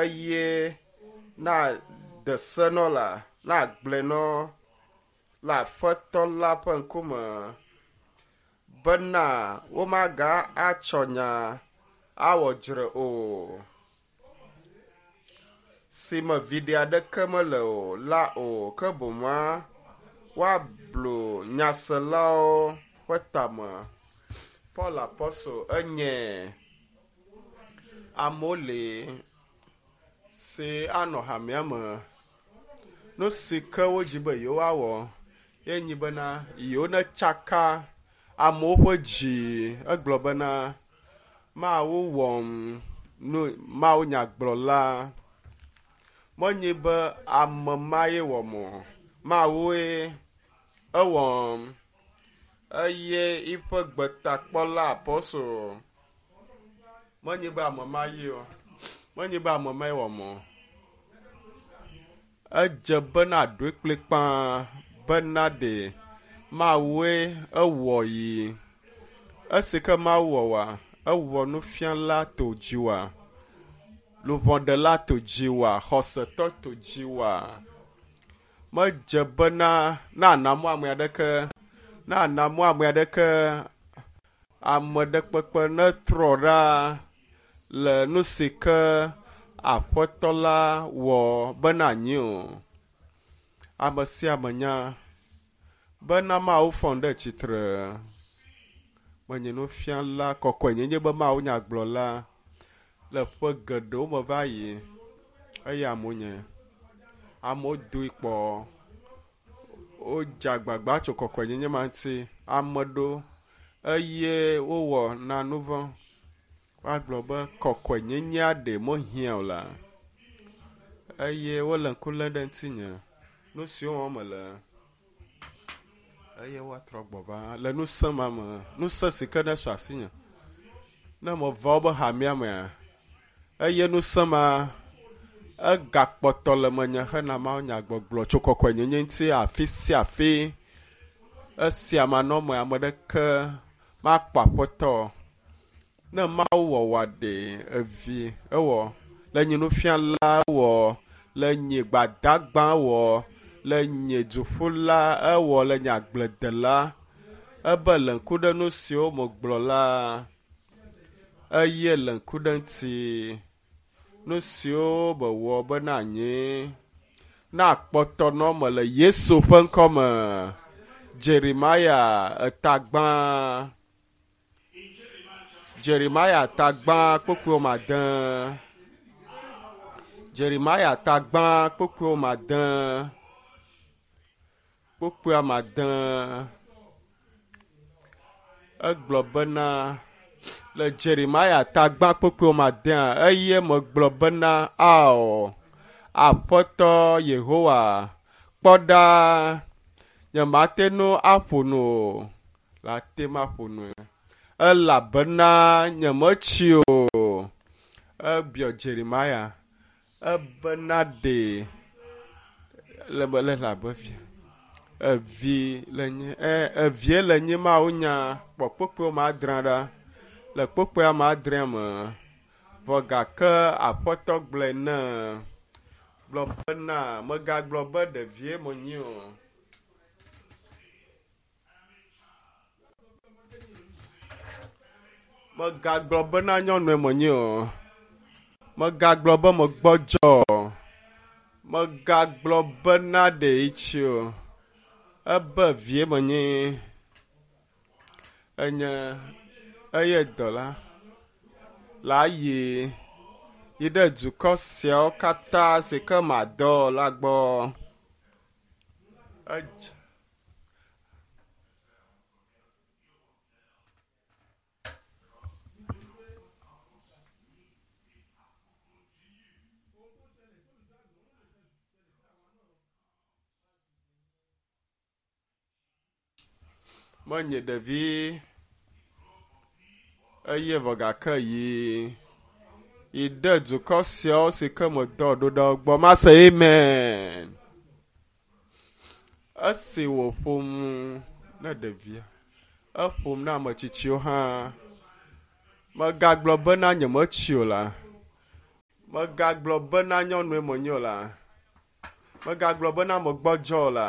Eye na de se nɔ la, na gblɔe nɔ le Aƒetɔ la ƒe ŋkume bena womaga atsɔ nya awɔ dzre o, si me viɖe aɖeke mele o la o, ke boŋua woablu nyaselawo ƒe tame. Paul Apɔstol enye amewo li si anɔ hamea me. Nu si ke wodzi be yewoawɔ ye nyi bena yewo netsaka amewo ƒe dzi. Egblɔ bena Mawu wɔm nu Mawu nyagblɔla. Menye be ame ma ye wɔm o. Mawue ewɔm eye eƒe gbetakpɔla apɔstol. Menye be ame ma ye o. Menye be ame ma ye wɔm o. Edze bena ɖoe kplikpaa bena ɖe Mawue ewɔ yi. Esi ke Mawu wɔ wa, ewɔ nufiala to dzi wa, luʋɔɖela to dzi wa, xɔsetɔ to dzi wa. Medze bena na namɔ ame aɖeke, na namɔ ame aɖeke, ame ɖe kpekpe netrɔ ɖa le nu si ke Aƒetɔ la wɔ bena anyi o. Ame sia ame nya bena Mawu fɔm ɖe tsitre. Menye nufiala kɔkɔenyenye be Mawu nyagblɔla le ƒe geɖewo me va yi eye amewo nye. Amewo doe kpɔ. Wodze agbagba tso kɔkɔenyenye ma ŋuti. Ame ɖewo eye wowɔ na nu vɔ̃. Woagblɔ be kɔkɔenyenyea ɖe mehiã o la. Eye wole ŋku lém ɖe ŋutinye. Nu siwo wɔm mele eye woatrɔ gbɔ va le ŋusẽ ma me. Ŋusẽ si ke ne su asinye. Ne meva wobe hamea mea, eye ŋusẽ ma egakpɔtɔ le menye hena Mawu nyagbɔgblɔ tso kɔkɔenyenye ŋuti afi sia afi. Esia manɔ me ame ɖeke makpɔ aƒetɔ. Ne Mawu wɔ wòa ɖe evi ewɔ le nye nufiala wɔ le nye gbadagba wɔ le nye duƒula ewɔ le nye agbledela ebe le ŋku ɖe nu siwo megblɔ la eye le ŋku ɖe ŋuti nu siwo mewɔ bena anyi na kpɔtɔ nɔ me le Yesu ƒe ŋkɔ me. Jeremia etagbã. Jeremia tagbã kpukpui woame ade. Jeremia tagbã kpukpui woame ade. Kpukpui ame ade. Egblɔ bena le Jeremia tagbã kpukpui woame adea eye megblɔ bena ao Aƒetɔ Yehowa kpɔ ɖa nyemate ŋu aƒo nu o. La te ŋu aƒo nu elabena nyemetsi o. Ebiɔ Jeremia ebena ɖe le be le abe vi evi le nye e evie le nye Mawu nya kpɔ kpukpui woame adre ɖa le kpukpui ame adrea me. Vɔ gake Aƒetɔ gblɔe ne gblɔ bena megagblɔ be ɖevie menye o. Megagblɔ bena nyɔnue menye o. Megagblɔ be megbɔdzɔ o. Megagblɔ bena ɖe etsi o. Ebe vie menye. Enye eye dɔla la yi yi ɖe dukɔ siawo katã si ke madɔ la gbɔ. Edze. Menye ɖevi eye vɔ gake yi yi ɖe dukɔ siawo si ke medɔ ɖo ɖe wo gbɔ. Mase amen. Esi wòƒom ne ɖevia, eƒom na ame tsitsiwo hã. Megagblɔ bena nyemetsi o la. Megagblɔ bena nyɔnue menye o la. Megagblɔ bena megbɔdzɔ o la.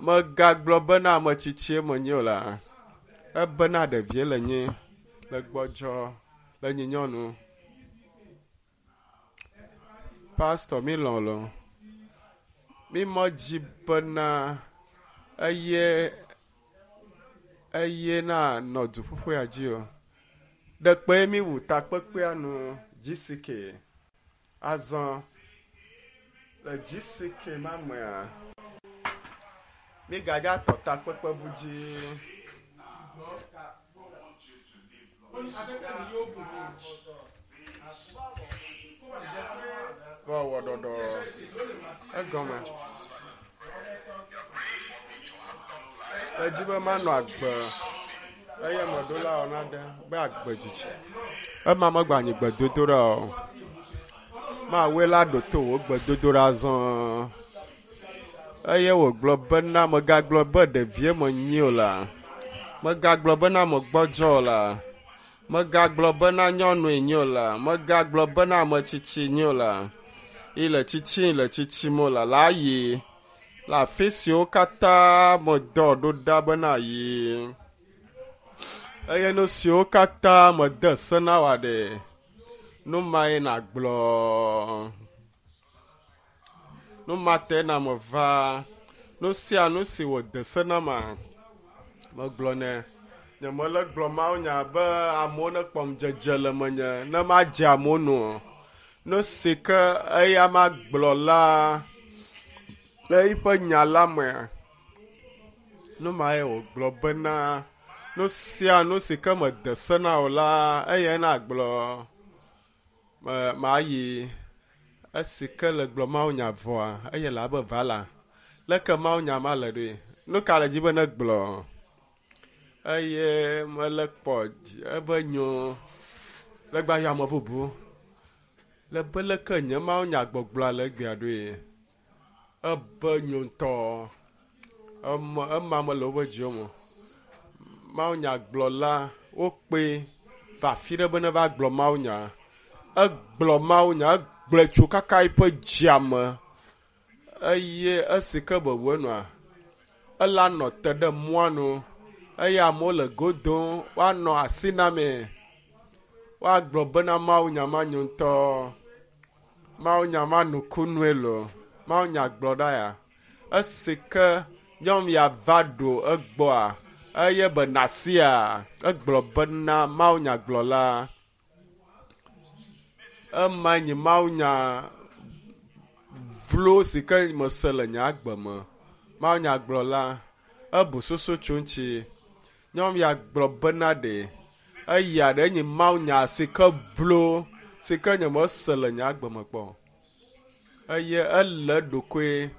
Megagblɔ bena ame tsitsie menye o la. Ebena ɖevie le nyi, le gbɔdzɔ, le nyi nyɔnu. Pastor mi lɔ̃ lo. Mi medzi bena eye eye na nɔ duƒuƒea dzi o. Ɖekpe mi wu takpekpea nu GCK. Azɔ le GCK ma mea, mi gadza tɔ takpekpe bu dzi. Woawɔ ɖɔɖɔ egɔme. Edzi be manɔ agbe eye meɖo la wɔna ɖe be agbe dzidzi. Ema megba nyi gbedodoɖa o. Mawue la ɖo to wò gbedodoɖa zɔ. Eye wògblɔ bena megagblɔ be ɖevie menyi o la. Megagblɔ bena megbɔdzɔ o la. Megagblɔ bena nyɔnue nyi o la. Megagblɔ bena ame tsitsi nyi o la. Yi le tsitsi le tsitsim o la. La yi le afi siwo katã medɔ ɖo ɖa bena yi. Eye nu siwo katã mede se na wòa ɖe, nu mae nàgblɔ. Nu ma te na meva. Nu sia nu si wòde se na ma, megblɔ nɛ. Nyemele gblɔ mawunya be amewo nekpɔ ŋudzedze le menye ne madze amewo nu o. Nu si ke eya magblɔ la le eƒe nya la mea, nu mae wògblɔ bena nu sia nu si ke mede se na wò la, eyae nagblɔ. Me mayi esi ke le gblɔ mawunya vɔa, eye le abe va la. Leke mawunya ma le ɖoe? Nu ka le dzi be ne gblɔ? Eye mele kpɔ ebe nyo le gba yɔ ame bubu. Le be leke nye mawunya gbɔgblɔa le egbea ɖoe? Ebe nyo ŋutɔ. Eme ema mele woƒe dziwo me. Mawunyagblɔla wokpe va afi ɖe be ne va gblɔ mawunya. Egblɔ mawunya, egblɔe tso kaka eƒe dzia me eye esi ke be wu enua, ela nɔ te ɖe mɔa nu eye amewo le go dom woanɔ asi namee. Woagblɔ bena mawunya ma nyo ŋutɔ. Mawunya ma nukunue loo. Mawunya gblɔ ɖa ya. Esi ke nyɔnu ya va ɖo egbɔa, eye be nasia, egblɔ bena mawunyagblɔla. Ema nye mawunya vlo si ke mese le nye agbe me. Mawunyagblɔla, ebu susu tso ŋuti. Nyɔnu ya gblɔ bena ɖe eya ɖe nye mawunya si ke blo si ke nye mese le nye agbe me kpɔ. Eye ele eɖokui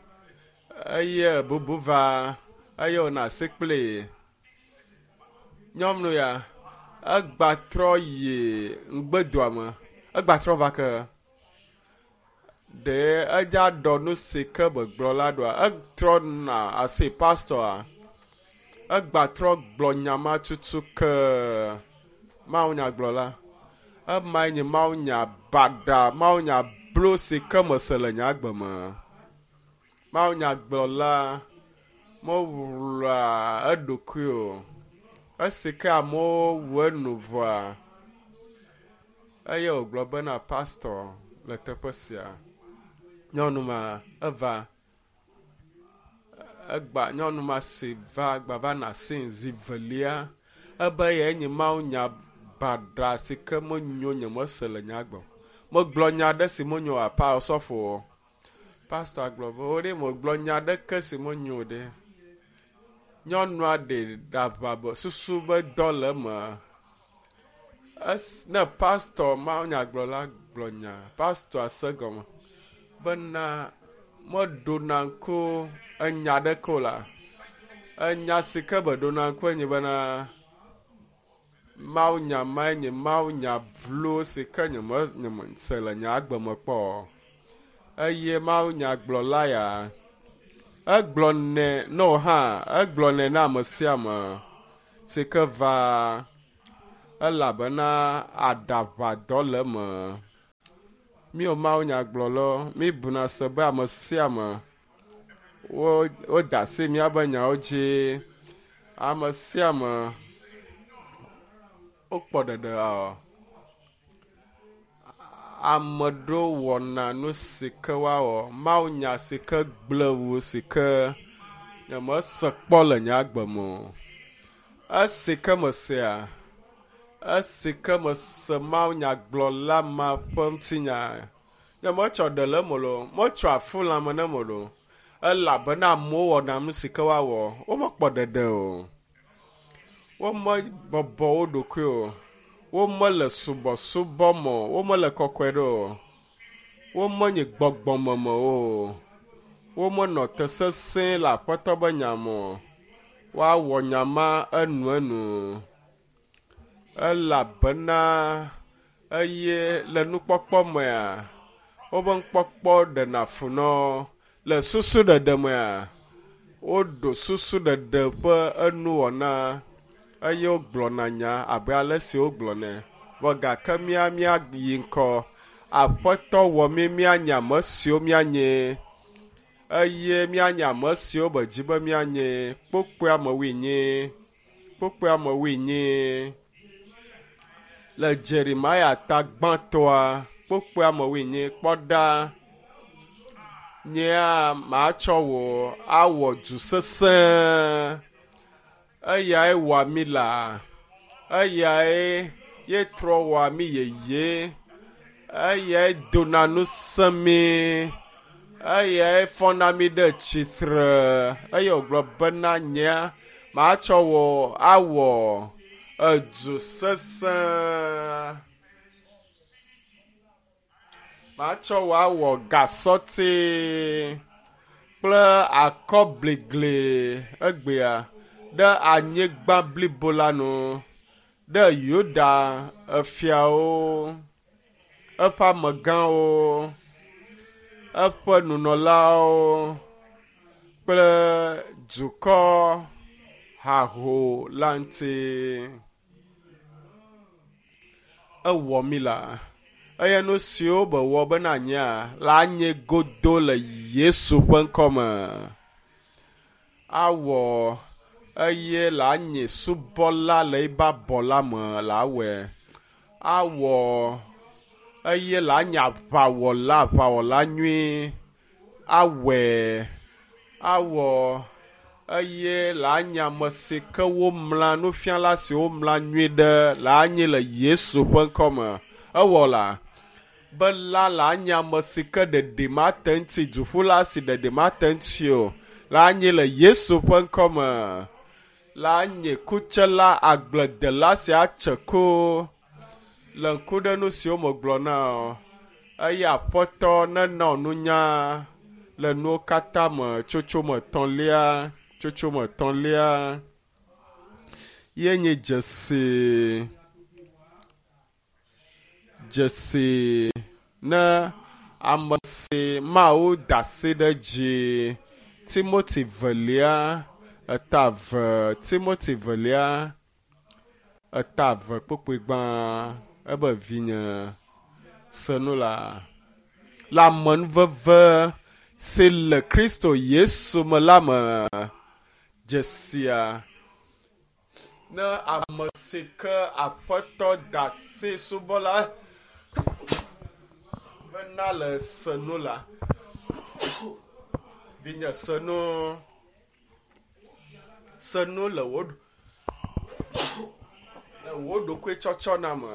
eye bubu va eye wònɔ asi kpli nyɔnu ya. Egba trɔ yi ŋgbedoa me. Egba trɔ va ke. Ɖe edza ɖɔ nu si ke begblɔ la ɖoa? Etrɔ na asi pastɔa. Egba trɔ gblɔ nya ma tutu ke mawunyagblɔla. Emae nye mawunya baɖa, mawunya blo si ke mese le nye agbe me. Mawunyagblɔla mewlɔa eɖokui o. Esi ke amewo wu enu vɔa, eye wògblɔ bena pastɔ le teƒe sia. Nyɔnu ma eva egba nyɔnu ma si va gba va na asi zi velia ebe ye nye mawunya baɖa si ke menyo nye mese le nye agbe. Megblɔ nya aɖe si menyo apa osɔfo o. Pastɔa gblɔ be wo ɖe megblɔ nya aɖeke si menyo o ɖe. Nyɔnua ɖe ɖaʋa be susu be dɔ le eme. Es ne pastɔ mawunyagblɔla gblɔ nya, pastɔa se gɔme bena meɖona ŋku enya ɖeke o la. Enya si ke beɖona ŋku enye bena mawunya mae nye mawunya vlo si ke nye me nye mese le nye agbe me kpɔ o. Eye mawunyagblɔla ya egblɔ nɛ ne wò hã egblɔ nɛ na ame sia ame si ke va elabena aɖaʋadɔ le eme. Míwo Mawu nyagblɔlawo, míbuna se be ame sia ame wo woda asi míaƒe nyawo dzi. Ame sia ame wokpɔ ɖeɖe ɔ. Ame ɖewo wɔna nu si ke woawɔ. Mawu nya si ke gblẽ wu si ke nyemese kpɔ le nye agbe me o. Esi ke mesea, esi ke mese Mawu nyagblɔla ma ƒe ŋutinya, nyemetsɔ ɖe le eme loo, metsɔ afu lãme ne me loo elabena amewo wɔna nu si ke woawɔ. Womekpɔ ɖeɖe o. Womebɔbɔ wo ɖokui o. Womele subɔsubɔ me o. Womele kɔkɔe ɖe o. Womenye gbɔgbɔmeme o. Womenɔ te sesẽ le Aƒetɔ be nya me o. Woawɔ nya ma enuenu elabena eye le nukpɔkpɔ mea, woƒe nukpɔkpɔ ɖena fu na wo. Le susuɖeɖe mea, woɖo susuɖeɖe ƒe enuwɔna eye wogblɔna nya abe ale si wogblɔnɛ. Vɔ gake mía míayi ŋkɔ. Aƒetɔ wɔ mí míanye ame siwo míanye eye míanye ame siwo be dzi be míanye. Kpokpoe ame wuienyi, kpokpoe ame wuienyi le Jeremia ta gbãtɔa, kpokpoe ame wuienyi kpɔ ɖa. Nyea matsɔ wò awɔ du sesẽ. Eyae wɔa mí la. Eyae ye trɔ wɔa mí yeye. Eyae dona ŋusẽ mí. Eyae fɔna mí ɖe tsitre. Eye wògblɔ bena nyea matsɔ wò awɔ edu sesẽ. Matsɔ wò awɔ gasɔti kple akɔbligli egbea ɖe anyigba blibo la nu, ɖe Yuda efiawo, eƒe amegãwo, eƒe nunɔlawo kple dukɔ haho la ŋuti. Ewɔ mí la eye nu siwo be wɔ bena anyia la nye godo le Yesu ƒe ŋkɔme. Awɔ eye la nye subɔla le ebe abɔ la me la wɔe. Awɔ eye la nye aʋawɔla, aʋawɔla nyui awɔe. Awɔ eye la nye ame si ke womla nufiala si womla nyui ɖe la nye le Yesu ƒe ŋkɔme. Ewɔ la be la la nye ame si ke ɖeɖi mate ŋuti, duƒula si ɖeɖi mate ŋuti o la nye le Yesu ƒe ŋkɔme. La nye kutsela agbledela si atse ku le ŋku ɖe nu siwo megblɔ na wò. Eye Aƒetɔ nena wò nunya le nuwo katã me tsotsome etɔ̃lia, tsotsome etɔ̃lia ye nye dzesi dzesi ne ame si Mawu da asi ɖe edzi. Timoti velia eta eve, Timoti velia eta eve kpukpui gbã ebe vinye se nu la le amenuveve si le Kristo Yesu me la me dzesia ne ame si ke Aƒetɔ da asi subɔla bena le se nu la vinye se nu se nu le wò le wò ɖokuitsɔtsɔ na me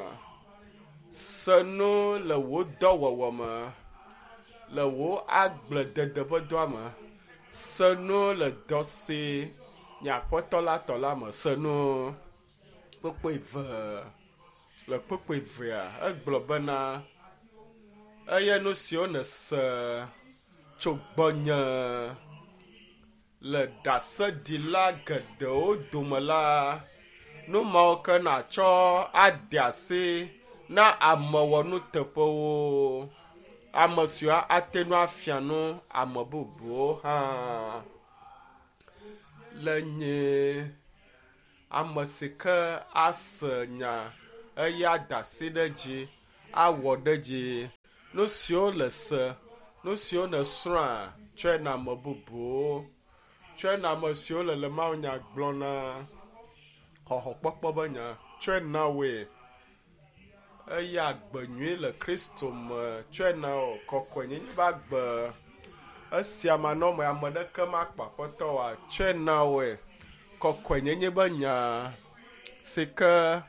se nu le wò dɔwɔwɔ me le wò agbledede ƒe dɔa me se nu le dɔ si nye Aƒetɔ la tɔ la me se nu kpukpui eve le kpukpui evea egblɔ bena eye nu siwo nèse tso gbɔnye le ɖaseɖila geɖewo dome la, nu mawo ke nàtsɔ ade asi na ame wɔnuteƒewo, ame siwo ate ŋu afia nu ame bubuwo hã. Le nye ame si ke ase nya eye ada asi ɖe edzi, awɔ ɖe edzi. Nu siwo le se, nu siwo nèsrɔ̃a, tsɔe na ame bubuwo. Tsɔe na ame siwo le le mawunya gblɔ na xɔxɔkpɔkpɔ be nya. Tsɔe na woe. Eye agbe nyui le Kristo me tsɔe na wò. Kɔkɔenyenye be agbe esia manɔme ame ɖeke makpɔ aƒetɔ oa, tsɔe na woe. Kɔkɔenyenye be nya si ke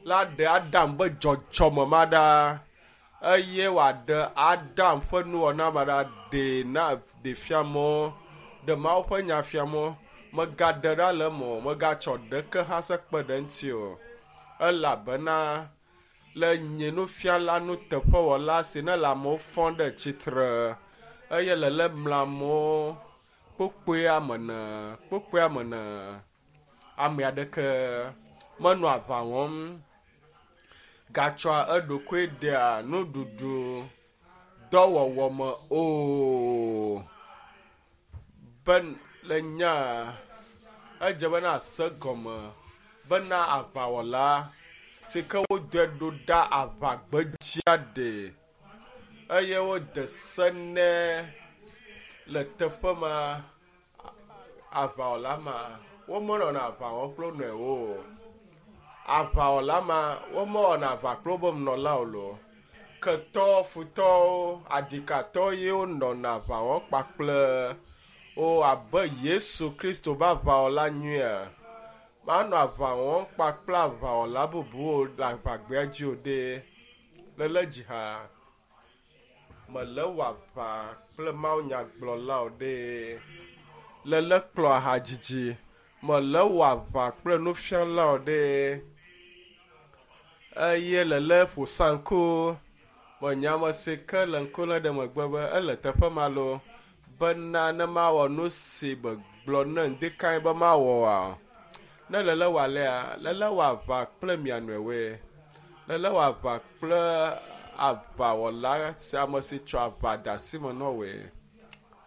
la ɖe Adam be dzɔdzɔme ma ɖa eye wòaɖe Adam ƒe nuwɔna ma ɖa ɖee na ɖe fia mɔ, ɖe Mawu ƒe nya fia mɔ. Megaɖe ɖa le eme o, megatsɔ ɖeke hã se kpe ɖe eŋuti o. Elabena le nye nufiala nuteƒewɔla si ne le amewo fɔm ɖe tsitre eye le le mla amewo kpokpoe ame ene, kpokpoe ame ene. Ame aɖeke menɔ aʋa wɔm gatsɔa eɖokui dea nuɖuɖu dɔwɔwɔ me o. Be le nya edze bena ase gɔme bena aʋawɔla si ke wodɔe ɖo ɖa aʋagbedzia ɖe eye wode se nɛ le teƒe ma aʋawɔla ma womenɔna aʋa wɔm kple wo nɔewo o. Aʋawɔla ma womewɔna aʋa kple wobe nunɔlawo loo. Ketɔ, futɔwo, adikatɔwo ye wonɔna aʋa wɔm kpakple wo abe Yesu Kristo be aʋawɔla nyuia. Manɔ aʋa wɔm kpakple aʋawɔla bubuwo le aʋagbea dzi o ɖe. Lele dzi ha mele wɔ aʋa kple mawunyagblɔlawo ɖe. Lele kplɔ ahadzidzi mele wɔ aʋa kple nufialawo ɖe. Eye lele ƒo sanku menya ame si ke le ŋku lém ɖe megbe be ele teƒe ma loo bena ne mawɔ nu si megblɔ ne ŋdikae be mawɔ oa. Ne lele wɔ alea, lele wɔ aʋa kple mia nɔewoe. Lele wɔ aʋa kple aʋawɔla si ame si tsɔ aʋa de asi me na woe.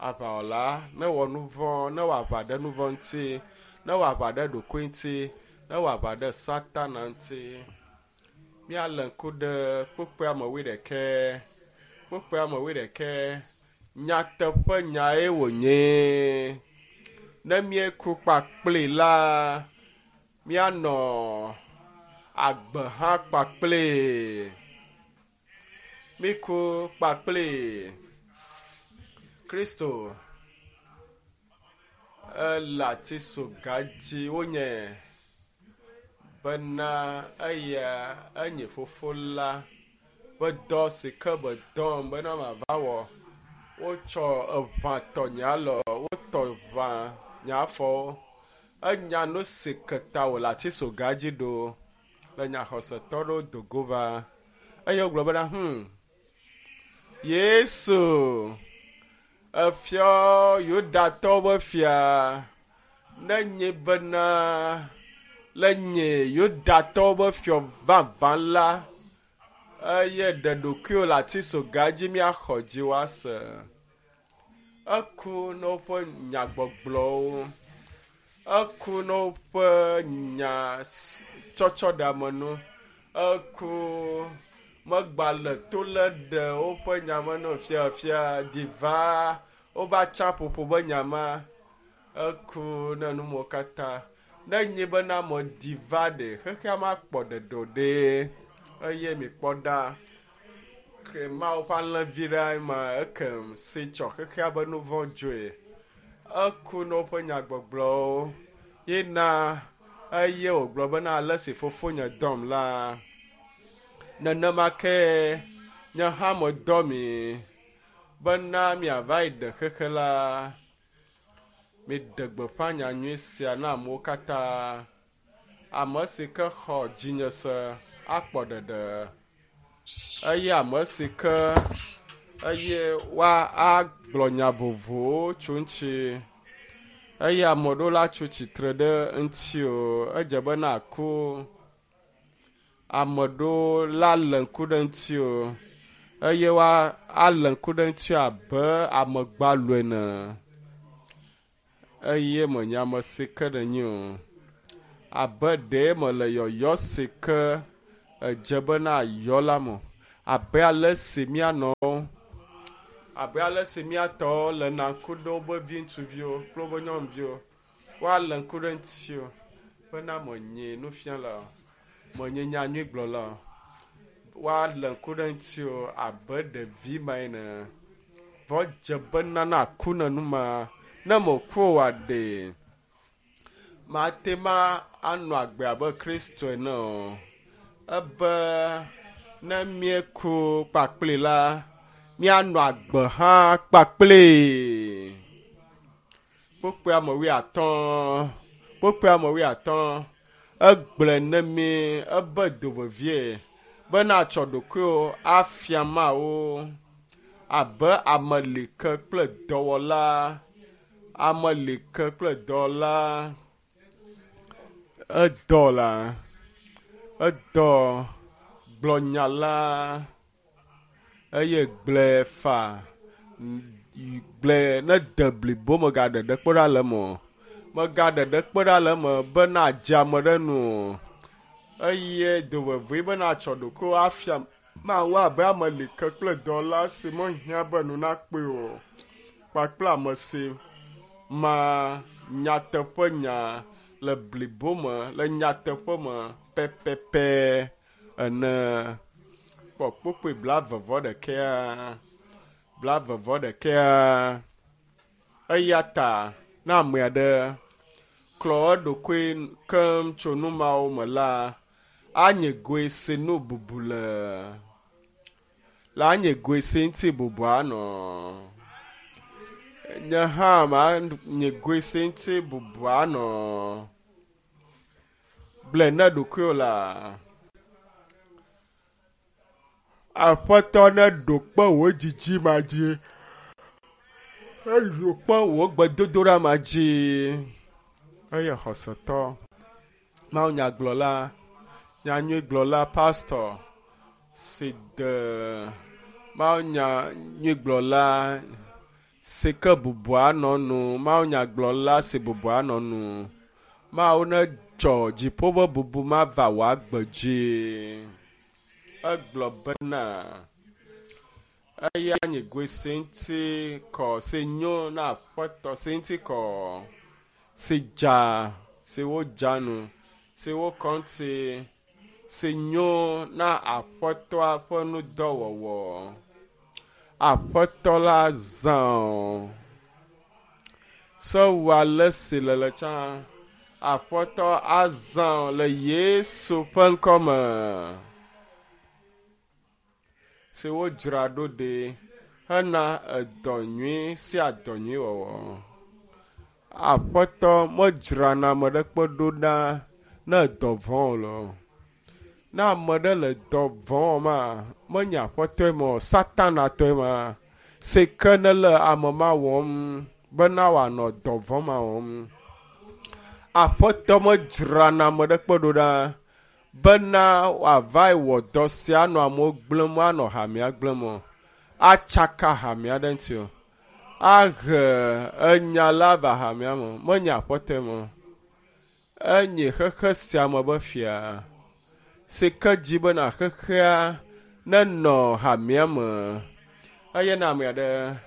Aʋawɔla ne wɔ nu vɔ̃, ne wɔ aʋa ɖe nu vɔ̃ ŋuti, ne wɔ aʋa ɖe ɖokui ŋuti, ne wɔ aʋa ɖe Satana ŋuti. Míalé ŋku ɖe kpukpui ame wuiɖekɛ, kpukpui ame wuiɖekɛ. Nyateƒe nyae wònye. Ne míeku kpakpli la, míanɔ agbe hã kpakpli. Míku kpakpli. Kristo ele atisoga dzi wonye bena eya enye fofo la ƒe dɔ si ke medɔm bena mava wɔ. Wotsɔ eʋã tɔ nye alɔ, wotɔ ʋã nye afɔwo. Enya nu si ke ta wòle atisoga dzi ɖo le nyaxɔsetɔ ɖewo do go va eye wogblɔ bena Yesu efiɔ Yudatɔwo be fia ne nye bena le nye Yudatɔwo be fiɔ vavã la eye ɖe ɖokuiwò le atisoga dzi míaxɔ dzi woase. Eku na woƒe nyagbɔgblɔwo, eku na woƒe nya tsɔtsɔ ɖe ame nu, eku megba le to lé ɖe woƒe nya me no fiafia diva wobe atsaƒoƒo be nya ma. Eku na numewo katã. Ne nye bena ame diva ɖe xexea makpɔ ɖeɖe o ɖe eye mikpɔ ɖa ke Mawu ƒe alẽvi ɖe ma ekem si tsɔ xexea be nu vɔ̃ dzoe. Eku na woƒe nyagbɔgblɔwo yina eye wògblɔ bena ale si fofonye dɔm la, nenema ke nye hã medɔ mi bena miava yi ɖe xexe la. Miɖe gbeƒã nyanyui sia na amewo katã. Ame si ke xɔ dzinye se akpɔ ɖeɖe eye ame si ke eye woa agblɔ nya vovovowo tso ŋuti eye ame ɖewo la tso tsitre ɖe ŋuti o. Edze be naku. Ame ɖewo la lé ŋku ɖe ŋuti o eye woa alé ŋku ɖe ŋuti abe ame gbalo ene eye menye ame si ke nenye o. Abe ɖee mele yɔyɔ si ke edze bena yɔ la me. Abe ale si míanɔ abe ale si míatɔwo le na ŋku ɖe woƒe vi ŋutsuviwo kple woƒe nyɔnuviwo, woalé ŋku ɖe ŋutiwo bena menye nufiala o, menye nyanyuigblɔla o. Woalé ŋku ɖe ŋutiwo abe ɖevi ma ene. Vɔ dze bena naku ne nu ma, ne meku oa ɖe, mate ma anɔ agbe abe Kristo ene o. Ebe ne míeku kpakpli la, míanɔ agbe hã kpakpli. Kpukpui ame wuiatɔ̃, kpukpui ame wuiatɔ̃, egblɔe ne mí ebe do vevie bena atsɔ ɖokuiwò afia Mawu abe ame like kple dɔwɔla, ame like kple dɔwɔla. Edɔ la, edɔ gblɔ nya la eye gblɔe fa, gblɔe ne de blibo megaɖe ɖe kpe ɖa le eme o. Megaɖe ɖe kpe ɖa le eme bena adze ame ɖe nu o. Eye do vevie bena atsɔ ɖokuiwò afia Mawu abe ame like kple dɔwɔla si mehiã be nu nakpɔe o kpakple ame si ma nyateƒe nya le blibo me, le nyateƒe me pɛpɛpɛ ene. Kpɔ kpukpui blaeve vɔ ɖekɛa, blaeve vɔ ɖekɛa. Eya ta ne ame aɖe klɔ eɖokui keŋ tso nu mawo me la, anye goe si nu bubu le. La anye goe si ŋuti bubu anɔ. Nye hã manye goe si ŋuti bubu anɔ. Gblɔe ne ɖokuiwò la. Aƒetɔ neɖo kpe wò dzidzima dzi. Eɖo kpe wò gbedodoɖa ma dzi. Eye xɔsetɔ, mawunyagblɔla, nyanyuigblɔla, pastor si de mawunyanyuigblɔla si ke bubu anɔ nu, mawunyagblɔla si bubu anɔ nu. Mawu netsɔ dziƒo ƒe bubu ma va wò agbe dzi. Egblɔ bena eya nye goe si ŋuti kɔ, si nyo na aƒetɔ, si ŋuti kɔ, si dza, si wodza nu, si wokɔ ŋuti, si nyo na aƒetɔa ƒe nudɔwɔwɔ. Aƒetɔ la zã o. Se wɔ ale si le le tsã. Aƒetɔ azã o le Yesu ƒe ŋkɔme. Si wodzra ɖo ɖi hena edɔ nyui sia dɔ nyui wɔwɔ. Aƒetɔ medzrana ame ɖekpe ɖo ɖa ne dɔ vɔ̃ o lo. Ne ame ɖe le dɔ vɔ̃ wɔma, menye aƒetɔe ma o, Satanatɔe ma. Si ke ne le ame ma wɔm bena wòanɔ dɔ vɔ̃ ma wɔm. Aƒetɔ medzrana ame ɖekpe ɖo ɖa bena wòava wɔ dɔ sia anɔ amewo gblẽm, anɔ hamea gblẽm o. Atsaka hamea ɖe ŋuti o. Ahe enya la va hamea me. Menye aƒetɔe ma o. Enye xexe sia me be fia. Si ke dzi bena xexea nenɔ hamea me. Eye ne ame aɖe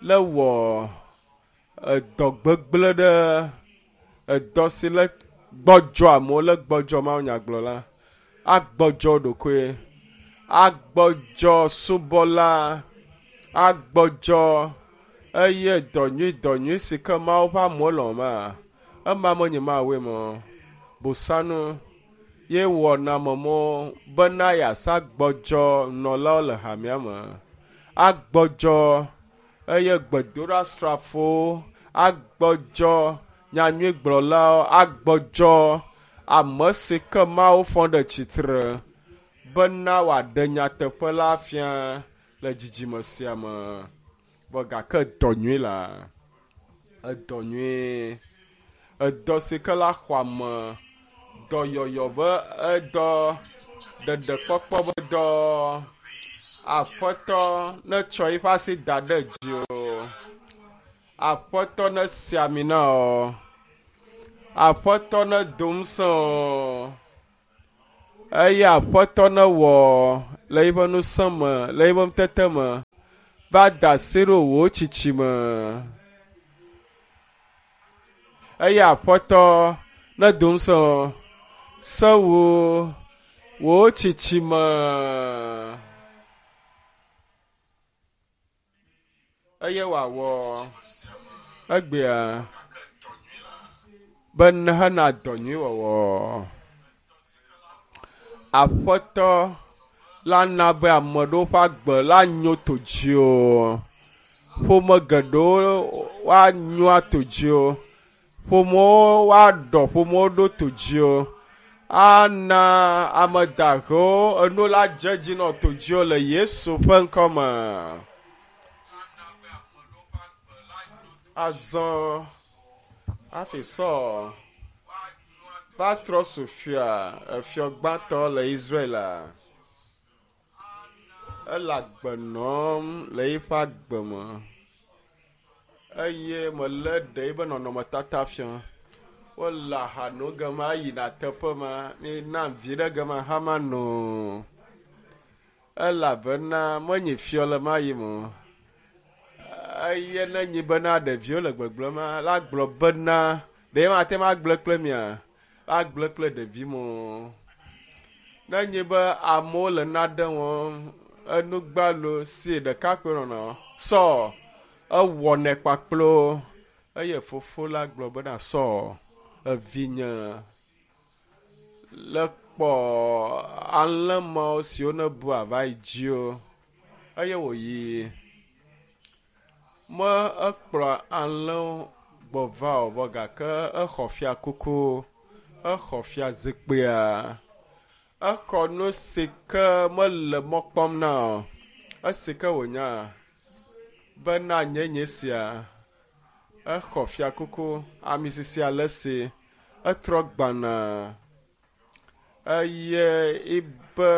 le wɔ edɔ gbegblẽ ɖe edɔ si le gbɔdzɔ amewo le gbɔdzɔ mawunyagblɔla, agbɔdzɔ ɖokoe, agbɔdzɔ subɔla, agbɔdzɔ eye dɔ nyui dɔ nyui si ke Mawu ƒe amewo lɔ̃ ma, ema menye Mawue me o. Bosanu ye wɔna me mɔ bena yeasa gbɔdzɔ nɔlawo le hamea me. Agbɔdzɔ eye gbedoɖasrafowo, agbɔdzɔ nyanyuigblɔlawo, agbɔdzɔ ame si ke Mawu fɔ ɖe tsitre bena wòaɖe nyateƒe la fia le dzidzime sia me. Vɔ gake dɔ nyui la, edɔ nyui, edɔ si ke la xɔ ame, dɔyɔyɔ be edɔ, ɖeɖekpɔkpɔ be dɔ. Aƒetɔ netsɔ eƒe asi da ɖe dzi o. Aƒetɔ nesi ami na wò. Aƒetɔ nedo ŋusẽ wò. Eye Aƒetɔ newɔ le yiƒe ŋusẽ me, le yiƒe ŋutete me, va da asi ɖo wò tsitsime. Eye Aƒetɔ nedo ŋusẽ wò, se wò wò tsitsime. Eye wòawɔ egbea be hena dɔ nyui wɔwɔ. Aƒetɔ la na be ame ɖewo ƒe agbe la nyo to dziwò. Ƒome geɖewo woanyo ato dziwò. Ƒomewo woaɖɔ ƒomewo ɖo to dziwò. Ana ame dahewo enu la dze dzi nɔ to dziwò le Yesu ƒe ŋkɔ me. Azɔ hafi Saul va trɔ zu fia, efiɔ gbãtɔ le Israel. Ele agbe nɔm le eƒe agbe me eye mele ɖe eƒe nɔnɔmetata fia. Wole aha no gema yina teƒe ma, mina vi ɖe gema hã mano. Elabena menye fiɔ le ma yi me o. Eye ne nyi bena ɖeviwo le gbegblẽ ma, la gblɔ bena ɖe mate ŋu agblẽ kple mia, agblẽ kple ɖevi mo. Ne nyi be amewo le nane wɔm, enugbalo si ɖekakpui nɔnɔ sɔ ewɔnɛ kpakplo eye fofo la gblɔ bena sɔ evinye le kpɔ alẽ mawo siwo ne bu ava yi dziwo eye wòyi. Me ekplɔ alẽwo gbɔ va o vɔ gake exɔ fiakuku, exɔ fiazikpuia, exɔ nu si ke mele mɔ kpɔm na o. Esi ke wònya bena nye nye sia, exɔ fiakuku, ami sisi ale si, etrɔ gbana eye ibe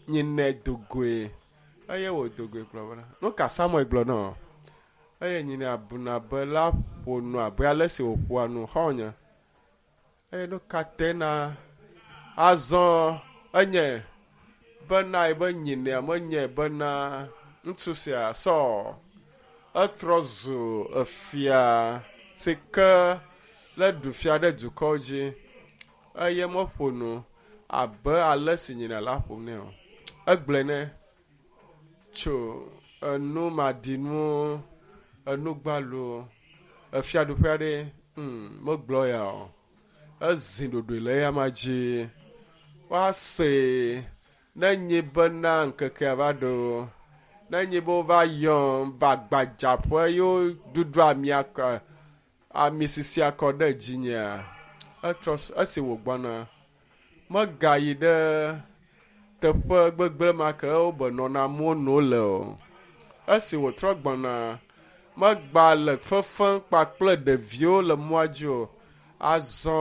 nyinɛ dogoe eye wòdogoe gblɔ bena nu ka Samuel gblɔ nɔ eye nyinɛ abuna be la ƒo nu abe ale si wòƒoa nu xɔ̃nye eye nu ka te na azɔ enye bena ebe nyinɛa menye bena ŋutsu sia sɔ etrɔ zu efia si ke le ɖu fia ɖe dukɔwo dzi eye meƒo nu abe ale si nyinɛ la ƒom nɛ o. Egblɔe nɛ tso enu maɖinuwo, enu gbalo, efiaɖuƒe aɖe, megblɔ ya o. Ezi ɖoɖoe le eyama dzi. Woase ne nyi bena ŋkekea va ɖo, ne nyi be wova yɔm va gbadzaƒe ye woɖuɖu amia kɔ ami sisia kɔ ɖe dzinyea, etrɔ esi wògbɔna megayi ɖe teƒe gbegblẽ ma ke wobe nɔna amewo no le o. Esi wòtrɔ gbɔna, megba le fefem kpakple ɖeviwo le mɔa dzi o. Azɔ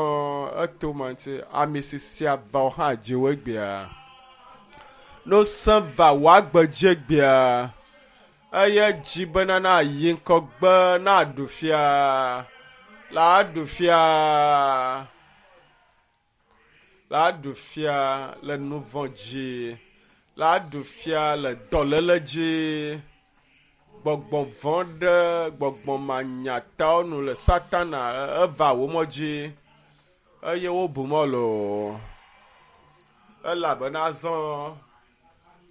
eto ma ŋuti ami sisia va wo hã dziwò egbea. Ŋusẽ va wò agbe dzi egbea eye dzi bena na yi ŋgɔgbe na ɖu fia, la ɖu fia, la ɖu fia le nu vɔ̃ dzi, la ɖu fia le dɔléle dzi. Gbɔgbɔ vɔ̃ ɖe gbɔgbɔ manyatawo nu le Satana eva wò mɔ dzi eye wobu mɔ loo. Elabena azɔ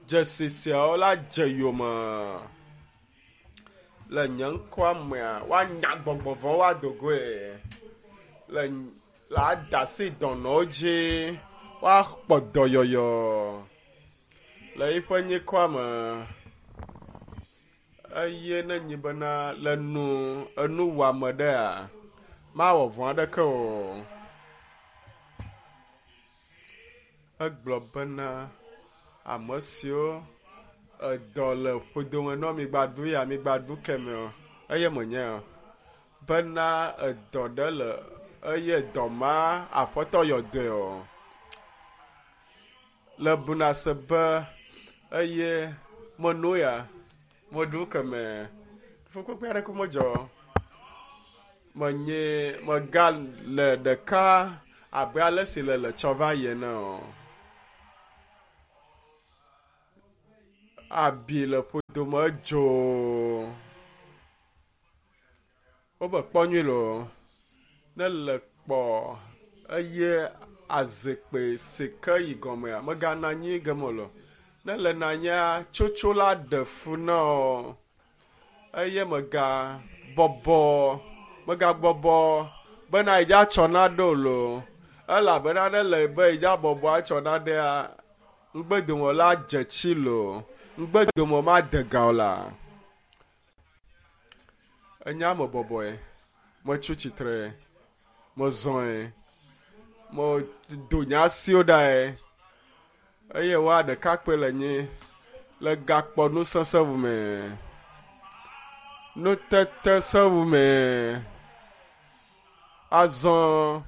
dzesi siawo la dze yome le nye ŋkɔa mea woanya gbɔgbɔ vɔ̃wo woado goe le la da asi dɔnɔwo dzi woakpɔ dɔyɔyɔ le yiƒe nyikɔa me. Eye ne nyi bena le nu enuwɔame ɖea, mawɔ vɔ̃ aɖeke o. Egblɔ bena ame siwo edɔ le ƒodome nɔ migba ɖu ya migba ɖu keme o eye menye o. Bena edɔ ɖe le eye dɔ ma aƒetɔ yɔ dɔe o. Le buna se be eye meno ya meɖu keme fukpekpe aɖeke medzɔ. Menye mega le ɖeka abe ale si le le tsɔ va yi ene o. Abi le ƒodome edzo. Wobe kpɔ nyui loo. Ne le kpɔ eye azikpui si ke yi gɔmea meganɔ anyi geme o loo. Ne le nɔ anyia tsotso la ɖe fu na wò eye mega bɔbɔ megabɔbɔ bena yidza tsɔ naɖe o loo elabena ne le be yidza bɔbɔ atsɔ naɖea ŋgbedome la dze tsi loo ŋgbedome made ga o la. Enya me bɔbɔe metso tsitre mezɔe medo nye asiwo ɖae eye woa ɖekakpui le nyi le gakpɔ nusese ŋu me nutete seŋu me azɔ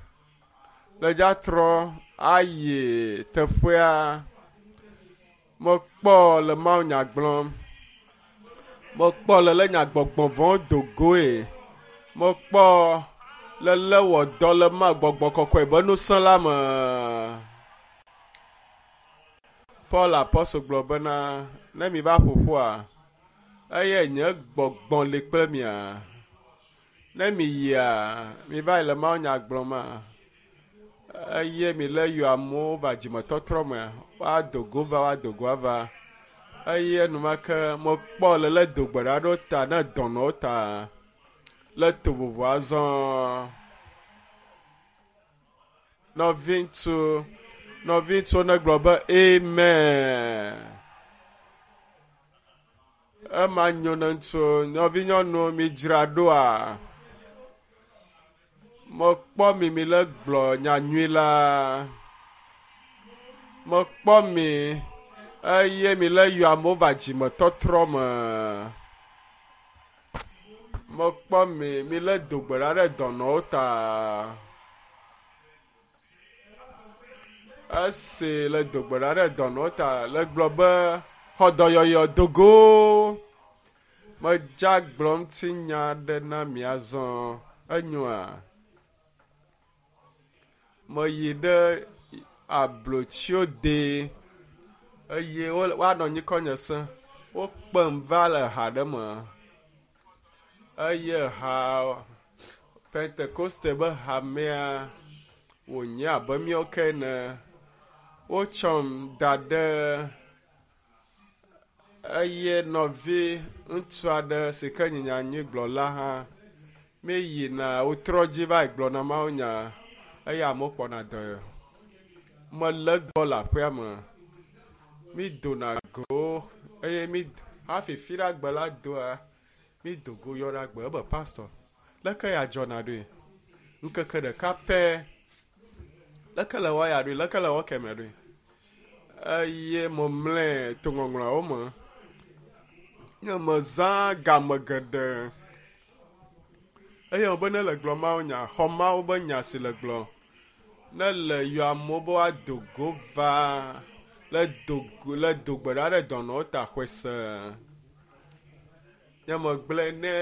le dza trɔ ayi teƒea mekpɔ le mawunya gblɔm mekpɔ le le nyagbɔgbɔ vɔ̃wo do goe mekpɔ le lé wɔ dɔ le ma gbɔgbɔ kɔkɔe be ŋusẽ la me. Paul apɔstol gblɔ bena ne mi va ƒoƒua eye nye gbɔgbɔ li kple mia. Ne mi yia mi va yi le mawunya gblɔm ma eye mi le yɔ amewo va dzimetɔtrɔ mea woado go va woado go ava eye enumake mekpɔ le le do gbe ɖa ɖo ta ne dɔnɔwo ta le to vovo azɔ. Nɔviŋutsu nɔviŋutsuwo negblɔ be amen. Ema nyo ne ŋutsu nɔvinyɔnuwo mi dzra ɖoa. Mekpɔ mi mi le gblɔ nyanyui la. Mekpɔ mi eye mi le yɔ amewo va dzimetɔtrɔ me. Mekpɔ mi mi le do gbe ɖa ɖe dɔnɔwo ta. Esi le do gbe ɖa ɖe dɔnɔwo ta le gblɔ be xɔ dɔyɔyɔ do go. Medza gblɔ ŋutinya aɖe na mi azɔ enyoa. Meyi ɖe ablotsiwo de eye woanɔ nyikɔnye se. Wokpem va le ha ɖe me eye ha Pentekoste be hamea wònye abe míawo ke ene. Wotsɔm da ɖe eye nɔvi ŋutsu aɖe si ke nye nyanyuigblɔla hã míeyina wotrɔ dzi va yi gblɔna mawunya eye amewo kpɔna dɔ. Mele egbɔ le aƒea me. Mídona go eye mí hafi fiɖagbe la doa mído go yɔna gbe ebe pastor leke ya dzɔna ɖoe ŋkeke ɖeka pɛ leke le wɔ ya ɖoe leke le wɔ kemɛ ɖoe eye memlɛ to ŋɔŋlɔawo me. Nye mezã game geɖe eye be ne le gblɔ mawu nya xɔ mawu be nya si le gblɔ ne le yɔ amewo be woado go va le do go le do gbe ɖa ɖe dɔnɔwo ta xɔe se. Nye megblẽ ne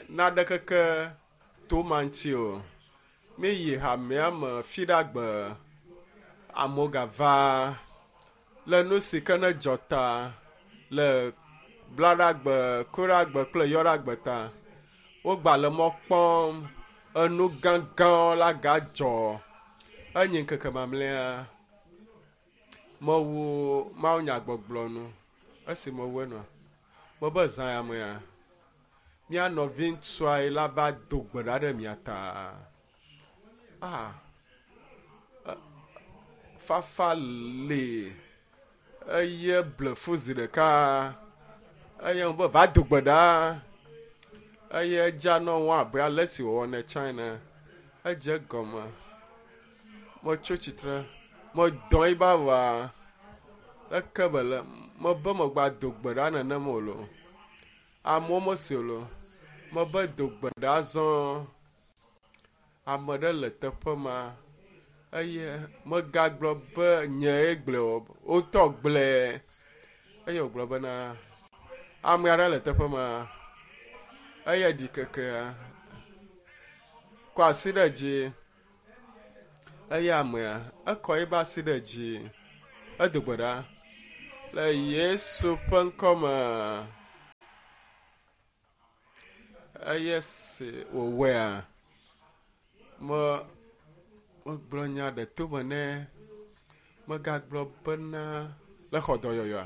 naɖe keke to ma ŋuti o. Míyi hamea me fiɖagbe amewo gava le nu si ke ne dzɔ ta le blaɖagbe, kuɖagbe kple yɔɖagbe ta. Wogba le mɔ kpɔm enu gãgãwo la gadzɔ. Enyi ŋkeke mamlɛa. Mewu mawunyagbɔgblɔ nu. Esi mewu enua, mebe zã ya mea, mía nɔvi ŋutsua yi la va do gbe ɖa ɖe mia ta. Ah, fafa li eye ble fu zi ɖeka eye be va do gbe ɖa eye edza nɔ ŋu abe ale si wòwɔnɛ tsã ene. Edze gɔme. Metso tsitre, medɔ yi ba va leke be le mebe megba do gbe ɖa nenem o loo. Amewo mese o loo. Mebe do gbe ɖa azɔ. Ame ɖe le teƒe ma eye megagblɔ be nyee gblɔe o. Wotɔ gblɔe eye wògblɔ bena ame aɖe le teƒe ma eye ɖikekea kɔ asi ɖe dzi eye amea ekɔ eƒe asi ɖe dzi edo gbe ɖa. Le Yesu ƒe ŋkɔme. Eye si wòwɔea, me megblɔ nya ɖe tome nɛ. Megagblɔ bena le xɔ dɔyɔyɔa.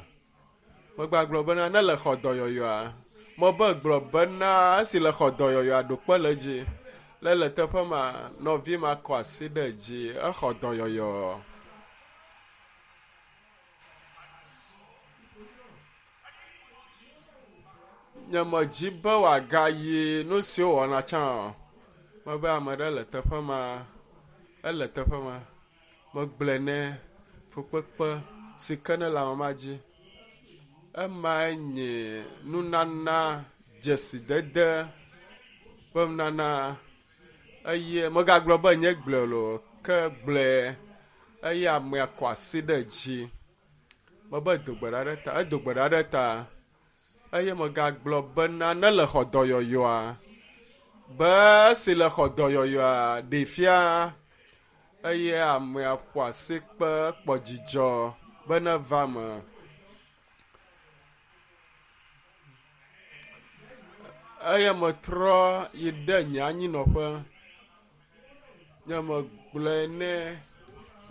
Megagblɔ bena ne le xɔ dɔyɔyɔa, mebe gblɔ bena esi le xɔ dɔyɔyɔa ɖo kpe le edzi. Le le teƒe ma, nɔvi ma kɔ asi ɖe dzi exɔ dɔyɔyɔ. Nye medzi be wòagayi nu siwo wɔna tsã o. Mebe ame ɖe le teƒe ma, ele teƒe ma. Megblɔe nɛ fukpekpe si ke ne le ame ma dzi. Emae nye nunana dzesidede ƒe nunana eye megagblɔ be nye gblɔe loo ke gblɔe eye amea kɔ asi ɖe dzi. Mebe do gbe ɖa ɖe ta, edo gbe ɖa ɖe ta eye megagblɔ bena ne le xɔ dɔyɔyɔa be esi le xɔ dɔyɔyɔa ɖee fia eye amea ƒo asi kpe kpɔ dzidzɔ be neva me. Eye metrɔ yi ɖe nye anyinɔƒe. Nye megblɔe nɛ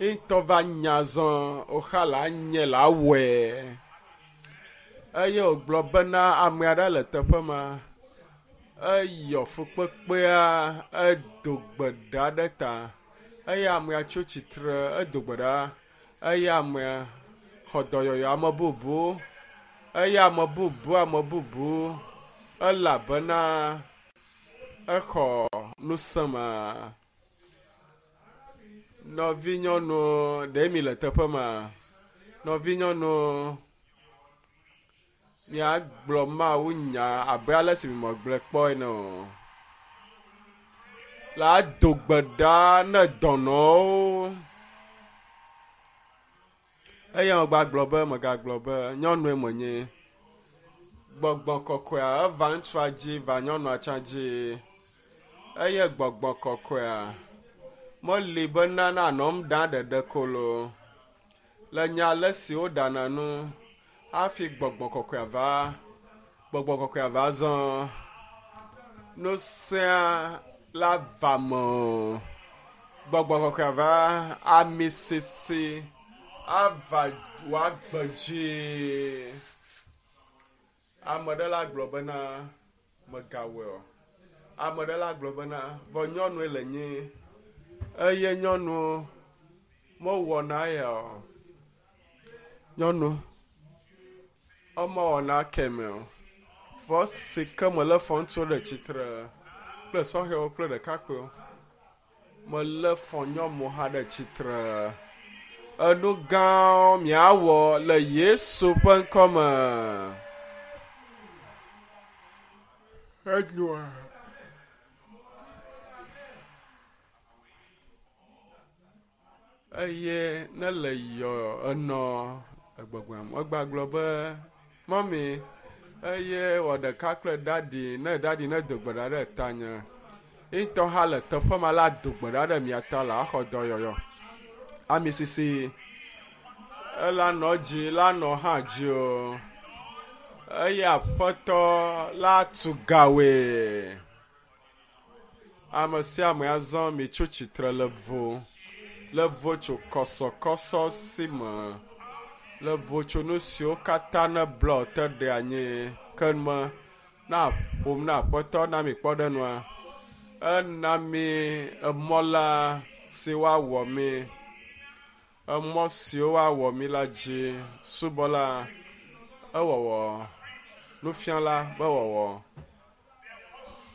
ŋutɔ va nya zɔ woxa la nye la wɔe. Eye wògblɔ bena ame aɖe le teƒe ma. Eyɔ fukpekpea edo gbe ɖa ɖe ta eye amea tso tsitre edo gbe ɖa eye amea xɔ dɔyɔyɔ ame bubu eye ame bubu ame bubu elabena exɔ ŋusẽ ma. Nɔvinyɔnu ɖe mi le teƒe ma? Nɔvinyɔnu miagblɔ Mawu nya abe ale si megblɔe kpɔ ene o. La do gbe ɖa ne dɔnɔwo. Eye megagblɔ be megagblɔ be nyɔnue menye. Gbɔgbɔ kɔkɔea eva ŋutsua dzi va nyɔnua tsã dzi. Eye gbɔgbɔ kɔkɔea meli bena nanɔ nu ɖam ɖeɖe ko loo. Le nya ale si woɖana nu hafi gbɔgbɔ kɔkɔea va gbɔgbɔ kɔkɔea va zɔ. Ŋusẽa la va me o. Gbɔgbɔ kɔkɔea va ami sisi ava wòagbe dzi. Ame ɖe la gblɔ bena megawɔe o. Ame ɖe la gblɔ bena vɔ nyɔnue le nyi eye nyɔnu mewɔna ya o. Nyɔnu emewɔna keme o. Vɔ si ke mele fɔ ŋutsuwo ɖe tsitre kple sɔhɛwo kple ɖekakpuiwo. Melé fɔ nyɔnu hã ɖe tsitre. Enu gãwo miawɔ le Yesu ƒe ŋkɔ me. Enyoa. Eye ne le yɔ enɔ egbɔgblɔm egbagblɔ be mɔmi eye wɔ ɖeka kple dadi ne dadi ne do gbe ɖa ɖe tanye. Ŋutɔ hã le teƒe ma la do gbe ɖa ɖe mia ta la axɔ dɔyɔyɔ. Ami sisi ela nɔ dzi la nɔ hã dzi o. Eye aƒetɔ la tu gawoe. Ame sia ame azɔ mi tso tsitre le vo le vo tso kɔsɔkɔsɔ si me le vo tso nu siwo katã ne blɔ te ɖe anyi ke me na ƒom na aƒetɔ na mi kpɔ ɖe nua. Ena mi emɔ la si woawɔ mi emɔ siwo woawɔ mi la dzi subɔla ewɔwɔ nufiala be wɔwɔ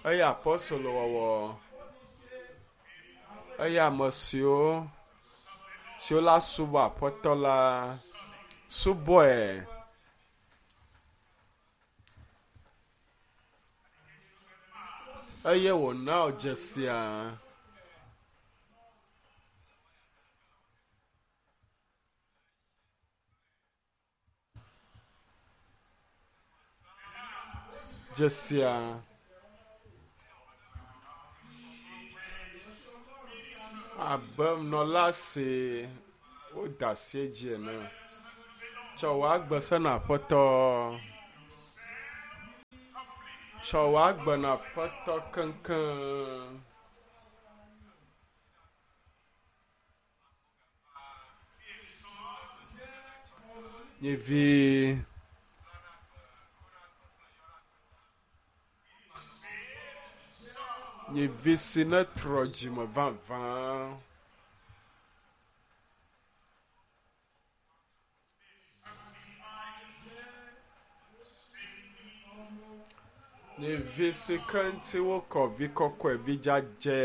eye apɔstolo wɔwɔ eye ame siwo siwo la subɔ aƒetɔ la subɔe. Eye wòna wò dzesia. Dzesia. Abe nɔla si woda asi edzi ene. Tsɔ wò agbe sena Aƒetɔ. Tsɔ wò agbe na Aƒetɔ keŋkeŋ. Nyivi. Nyivi si netrɔ dzime vavã. Nyivi si ke ŋuti wokɔ vi kɔkɔe vi dzadzɛ.